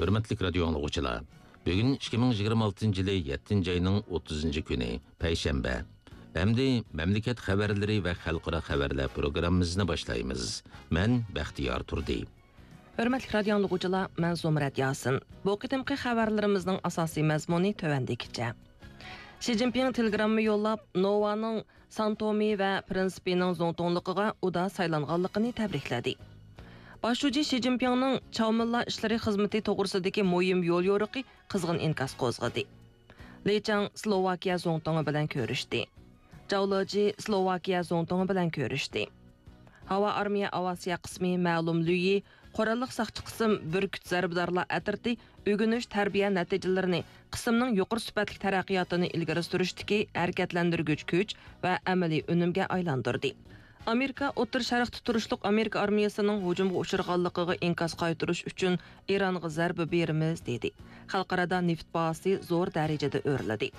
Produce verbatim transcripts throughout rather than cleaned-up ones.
ھۆرمەتلىك رادىيو ئاڭلىغۇچىلار، بۈگۈن ئىككى مىڭ يىگىرمە ئالتىنچى يىلى يەتتىنچى ئاينىڭ ئوتتۇزىنچى كۈنى، پەيشەنبە. ئەمدى مەملىكەت خەۋەرلىرى ۋە خەلقئارا خەۋەرلەر پروگراممىمىزنى باشلايمىز. مەن بەختىيار تۇردى. ھۆرمەتلىك رادىيو ئاڭلىغۇچىلار، مەن زۇمرەت ياسىن. بۇ قېتىمقى خەۋەرلىرىمىزنىڭ ئاساسىي مەزمۇنى تۆۋەندىكىچە. شى جىنپىڭ تېلېگرامما يوللاپ، نوۋانىڭ سانتومى ۋە پرىنسىپىنىڭ زۇڭتۇڭلۇقىغا ئۇدا سايلانغانلىقىنى تەبرىكلىدى. باش شۇجى شى جىنپىڭنىڭ چاۋمىنلار ئىشلىرى خىزمىتى توغرىسىدىكى مۇھىم يوليورۇقى قىزغىن ئىنكاس قوزغىدى. لى چاڭ سلوۋاكىيە زۇڭتۇڭى بىلەن كۆرۈشتى. جاۋ لېجى سلوۋاكىيە زۇڭتۇڭى بىلەن كۆرۈشتى. ھاۋا ئارمىيە ئاۋىئاتسىيە قىسمى مەلۇم لۈيى، قوراللىق ساقچى قىسىم، بۈركۈت زەربىدارلار ئەترىتى ئۆگىنىش، تەربىيە نەتىجىلىرىنى، قىسىمنىڭ يۇقىرى سۈپەتلىك تەرەققىياتىنى ئىلگىرى سۈرۈشتىكى ھەرىكەتلەندۈرگۈچ كۈچ ۋە ئەمەلىي ئۈنۈمگە ئايلاندۇردى. ئامېرىكا ئوتتۇرا شەرقتە تۇرۇشلۇق ئامېرىكا ئارمىيەسىنىڭ ھۇجۇمغا ئۇچرىغانلىقىغا ئىنكاس قايتۇرۇش ئۈچۈن ئىرانغا زەربە بېرىمىز، دېدى. خەلقئارادا نېفىت باھاسى زور دەرىجىدە ئۆرلىدى.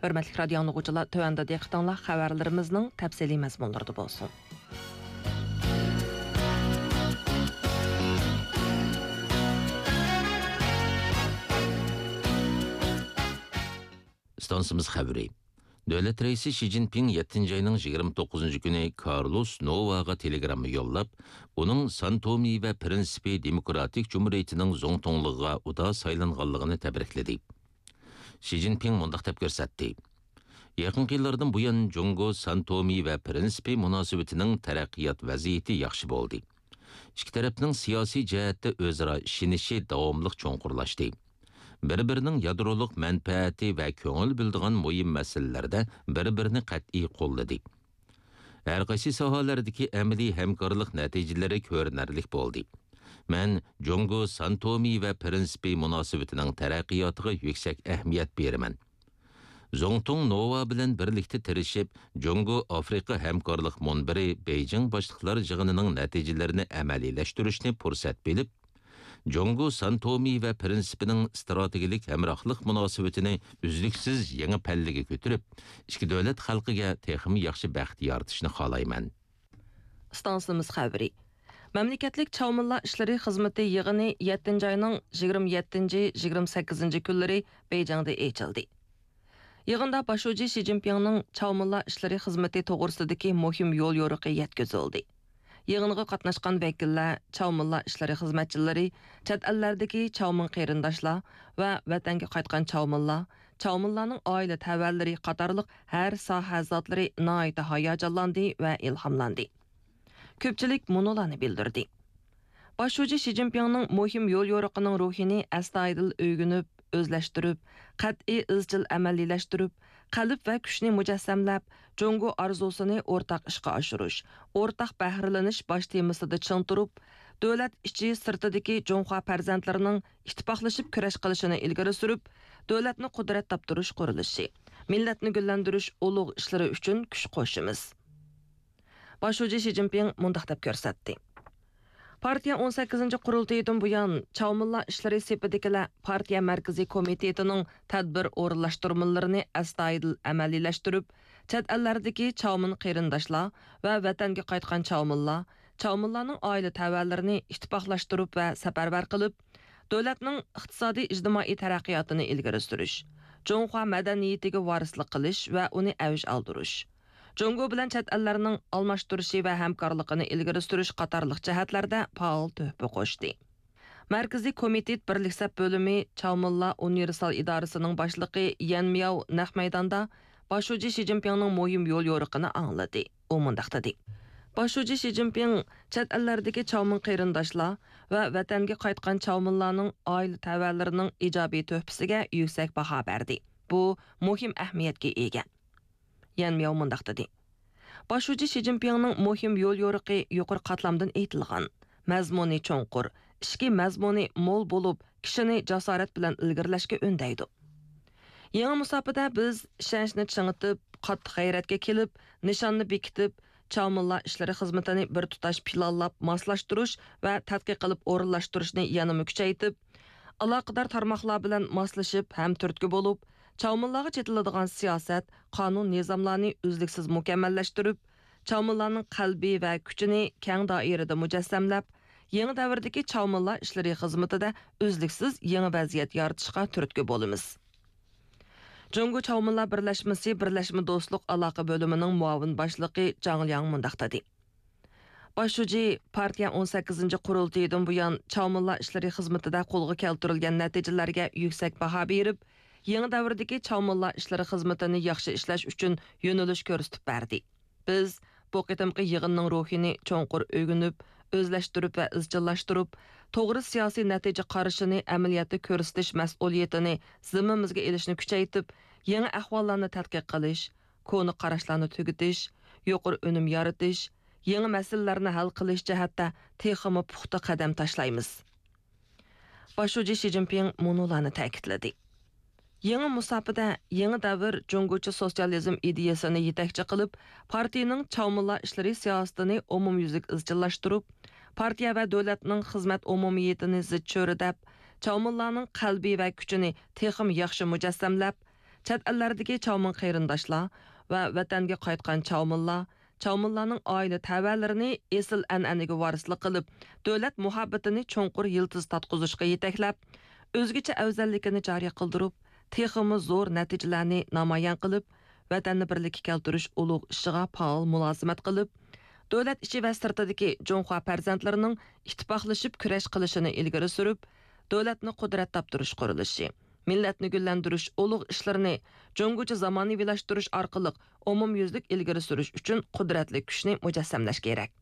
ھۆرمەتلىك رادىيو ئاڭلىغۇچىلار، تۆۋەندە دىققىتىڭلار خەۋەرلىرىمىزنىڭ تەپسىلىي مەزمۇنلىرىدا بولسۇن. ئىستانسىمىز خەۋىرى. دۆلەت رەئىسى شى جىنپىڭ يەتتىنچى ئاينىڭ يىگىرمە توققۇزىنچى كۈنى كارلوس نوۋاغا تېلېگرامما يوللاپ، ئۇنىڭ سانتومى ۋە پرىنسىپى دېموكراتىك جۇمھۇرىيىتىنىڭ زۇڭتۇڭلۇقىغا ئۇدا سايلانغانلىقىنى تەبرىكلىدى. شى جىنپىڭ مۇنداق دەپ كۆرسەتتى: يېقىنقى يىللاردىن بۇيان، جۇڭگو سانتومى ۋە پرىنسىپى مۇناسىۋىتىنىڭ تەرەققىيات ۋەزىيىتى ياخشى بولدى. ئىككى تەرەپنىڭ سىياسىي جەھەتتە ئۆزئارا ئىشىنىشى داۋاملىق چوڭقۇرلاشتى. بىر-بىرىنىڭ يادرولۇق مەنپەئەتى ۋە كۆڭۈل بۆلىدىغان مۇھىم مەسىلىلەردە بىر-بىرىنى قەتئىي قوللىدى. ھەر قايسى ساھەلەردىكى ئەمەلىي ھەمكارلىق نەتىجىلىرى كۆرۈنەرلىك بولدى. مەن جۇڭگو سانتومى ۋە پرىنسىپى مۇناسىۋىتىنىڭ تەرەققىياتىغا يۈكسەك ئەھمىيەت بېرىمەن. زۇڭتۇڭ نوۋا بىلەن بىرلىكتە تىرىشىپ، جۇڭگو ئافرىقا ھەمكارلىق مۇنبىرى بېيجىڭ باشلىقلار يىغىنىنىڭ نەتىجىلىرىنى ئەمەلىيلەشتۈرۈشنى پۇرسەت بىلىپ، جۇڭگو سانتومى ۋە پرىنسىپىنىڭ ئىستراتېگىيەلىك ھەمراھلىق مۇناسىۋىتىنى ئۈزلۈكسىز يېڭى پەللىگە كۆتۈرۈپ، ئىككى دۆلەت خەلقىگە تېخىمۇ ياخشى بەخت يارىتىشنى خالايمەن. ئىستانسىمىز خەۋىرى. مەملىكەتلىك چاۋمىنلار ئىشلىرى خىزمىتى يىغىنى يەتتىنچى ئاينىڭ يىگىرمە يەتتىنچى، يىگىرمە سەككىزىنچى كۈنلىرى بېيجىڭدا ئېچىلدى. يىغىندا باش شۇجى شى جىنپىڭنىڭ چاۋمىنلار ئىشلىرى خىزمىتى توغرىسىدىكى مۇھىم يوليورۇقى يەتكۈزۈلدى. يىغىنغا قاتناشقان ۋەكىللەر، چاۋمىنلار ئىشلىرى خىزمەتچىلىرى، چەت ئەللەردىكى چاۋمىن قېرىنداشلار ۋە ۋەتەنگە قايتقان چاۋمىنلار، چاۋمىنلارنىڭ ئائىلە تەۋەلىرى قاتارلىق ھەر ساھە زاتلىرى ناھايىتى ھاياجانلاندى ۋە ئىلھاملاندى. كۆپچىلىك مۇنۇلارنى بىلدۈردى. باش شۇجى شى جىنپىڭنىڭ مۇھىم يوليورۇقىنىڭ روھىنى ئەستايىدىل ئۆگىنىپ، ئۆزلەشتۈرۈپ، قەتئىي ئىزچىل ئەمەلىيلەشتۈرۈپ، قەلب ۋە كۈچنى مۇجەسسەملەپ، جۇڭگو ئارزۇسىنى ئورتاق ئىشقا ئاشۇرۇش، ئورتاق بەھرىلىنىش باش تېمىسىدا چىڭ تۇرۇپ، دۆلەت ئىچى سىرتىدىكى جۇڭخۇا پەرزەنتلىرىنىڭ ئىتتىپاقلىشىپ كۈرەش قىلىشىنى ئىلگىرى سۈرۈپ، دۆلەتنى قۇدرەت تاپتۇرۇش قۇرۇلۇشى، مىللەتنى گۈللەندۈرۈش ئۇلۇغ ئىشلىرى ئۈچۈن كۈچ قوشىمىز. باش شۇجى شى جىنپىڭ مۇنداق دەپ كۆرسەتتى. پارتىيە ئون سەككىزىنچى قۇرۇلتىيىدىن بۇيان، چاۋمىنلار ئىشلىرى سېپىدىكىلەر پارتىيە مەركىزىي كومىتېتىنىڭ تەدبىر ئورۇنلاشتۇرمىلىرىنى ئەستايىدىل ئەمەلىيلەشتۈرۈپ، چەت ئەللەردىكى چاۋمىن قېرىنداشلار ۋە ۋەتەنگە قايتقان چاۋمىنلار، چاۋمىنلارنىڭ ئائىلە تەۋەلىرىنى ئىتتىپاقلاشتۇرۇپ ۋە سەپەرۋەر قىلىپ، دۆلەتنىڭ ئىقتىسادىي ئىجتىمائىي تەرەققىياتىنى ئىلگىرى سۈرۈش، جۇڭخۇا مەدەنىيىتىگە ۋارىسلىق قىلىش ۋە ئۇنى ئەۋج ئالدۇرۇش، جۇڭگو بىلەن چەت ئەللەرنىڭ ئالماشتۇرۇشى ۋە ھەمكارلىقىنى ئىلگىرى سۈرۈش قاتارلىق جەھەتلەردە پائال تۆھپە قوشتى. مەركىزىي كومىتېت بىرلىك سەپ بۆلۈمى چاۋمىنلار ئۇنىۋېرسال ئىدارىسىنىڭ باشلىقى يەن مياۋ نەق مەيداندا باش شۇجى شى جىنپىڭنىڭ مۇھىم يوليورۇقىنى ئاڭلىدى. ئۇ مۇنداق دېدى: باش شۇجى شى جىنپىڭ چەت ئەللەردىكى چاۋمىن قېرىنداشلار ۋە ۋەتەنگە قايتقان چاۋمىنلارنىڭ ئائىلە تەۋەلىرىنىڭ ئىجابىي تۆھپىسىگە يۈكسەك باھا بەردى. بۇ مۇھىم ئەھمىيەتكە ئىگە. يەن مياۋ مۇنداق دېدى: باش شۇجى شى جىنپىڭنىڭ مۇھىم يوليورۇقى يۇقىرى قاتلامدىن ئېيتىلغان، مەزمۇنى چوڭقۇر، ئىچكى مەزمۇنى مول بولۇپ، كىشىنى جاسارەت بىلەن ئىلگىرىلەشكە ئۈندەيدۇ. يېڭى مۇساپىدە بىز ئىشەنچنى چىڭىتىپ، قاتتىق غەيرەتكە كېلىپ، نىشاننى بېكىتىپ، چاۋمىنلار ئىشلىرى خىزمىتىنى بىر تۇتاش پىلانلاپ ماسلاشتۇرۇش ۋە تەتقىق قىلىپ ئورۇنلاشتۇرۇشنى يەنىمۇ كۈچەيتىپ، ئالاقىدار تارماقلار بىلەن ماسلىشىپ ھەم تۈرتكە بولۇپ، چاۋمىنلارغا چېتىلىدىغان سىياسەت، قانۇن-نىزاملارنى ئۈزلۈكسىز مۇكەممەللەشتۈرۈپ، چاۋمىنلارنىڭ قەلبى ۋە كۈچىنى كەڭ دائىرىدە مۇجەسسەملەپ، يېڭى دەۋردىكى چاۋمىنلار ئىشلىرى خىزمىتىدە ئۈزلۈكسىز يېڭى ۋەزىيەت يارىتىشقا تۈرتكە بولىمىز. جۇڭگو چاۋمىنلار بىرلەشمىسى بىرلەشمە دوستلۇق ئالاقە بۆلۈمىنىڭ مۇئاۋىن باشلىقى جاڭ لياڭ مۇنداق دېدى: باش شۇجى پارتىيە ئون سەككىزىنچى قۇرۇلتىيىدىن بۇيان چاۋمىنلار ئىشلىرى خىزمىتىدە قولغا كەلتۈرۈلگەن نەتىجىلەرگە يۈكسەك باھا بېرىپ، يېڭى دەۋردىكى چاۋمىنلار ئىشلىرى خىزمىتىنى ياخشى ئىشلەش ئۈچۈن يۆنىلىش كۆرسىتىپ بەردى. بىز بۇ قېتىمقى يىغىننىڭ روھىنى چوڭقۇر ئۆگىنىپ، ئۆزلەشتۈرۈپ ۋە ئىزچىللاشتۇرۇپ، توغرا سىياسىي نەتىجە قارىشىنى ئەمەلىيەتتە كۆرسىتىش مەسئۇلىيىتىنى زىممىمىزگە ئېلىشنى كۈچەيتىپ، يېڭى ئەھۋاللارنى تەتقىق قىلىش، كونا قاراشلارنى تۈگىتىش، يۇقىرى ئۈنۈم يارىتىش، يېڭى مەسىلىلەرنى ھەل قىلىش جەھەتتە تېخىمۇ پۇختا قەدەم تاشلايمىز. باش شۇجى شى جىنپىڭ مۇنۇلارنى تەكىتلىدى: يېڭى مۇساپىدە، يېڭى دەۋر جۇڭگوچە سوتسىيالىزم ئىدىيەسىنى يېتەكچى قىلىپ، پارتىيىنىڭ چاۋمىنلار ئىشلىرى سىياسىتىنى ئومۇميۈزلۈك ئىزچىللاشتۇرۇپ، پارتىيە ۋە دۆلەتنىڭ خىزمەت ئومۇمىيىتىنى زىچ چۆرىدەپ، چاۋمىنلارنىڭ قەلبى ۋە كۈچىنى تېخىمۇ ياخشى مۇجەسسەملەپ، چەت ئەللەردىكى چاۋمىن قېرىنداشلار ۋە ۋەتەنگە قايتقان چاۋمىنلار، چاۋمىنلارنىڭ ئائىلە تەۋەلىرىنى ئېسىل ئەنئەنىگە ۋارىسلىق قىلىپ، دۆلەت مۇھەببىتىنى چوڭقۇر يىلتىز تارتقۇزۇشقا يېتەكلەپ، ئۆزگىچە ئەۋزەللىكىنى جارى قىلدۇرۇپ، تېخىمۇ زور نەتىجىلەرنى نامايان قىلىپ، ۋەتەننى بىرلىككە كەلتۈرۈش ئۇلۇغ ئىشىغا پائال مۇلازىمەت قىلىپ، دۆلەت ئىچى ۋە سىرتىدىكى جۇڭخۇا پەرزەنتلىرىنىڭ ئىتتىپاقلىشىپ كۈرەش قىلىشىنى ئىلگىرى سۈرۈپ، دۆلەتنى قۇدرەت تاپتۇرۇش قۇرۇلۇشى، مىللەتنى گۈللەندۈرۈش ئۇلۇغ ئىشلىرىنى جۇڭگوچە زامانىۋىلاشتۇرۇش ئارقىلىق ئومۇميۈزلۈك ئىلگىرى سۈرۈش ئۈچۈن قۇدرەتلىك كۈچنى مۇجەسسەملەش كېرەك.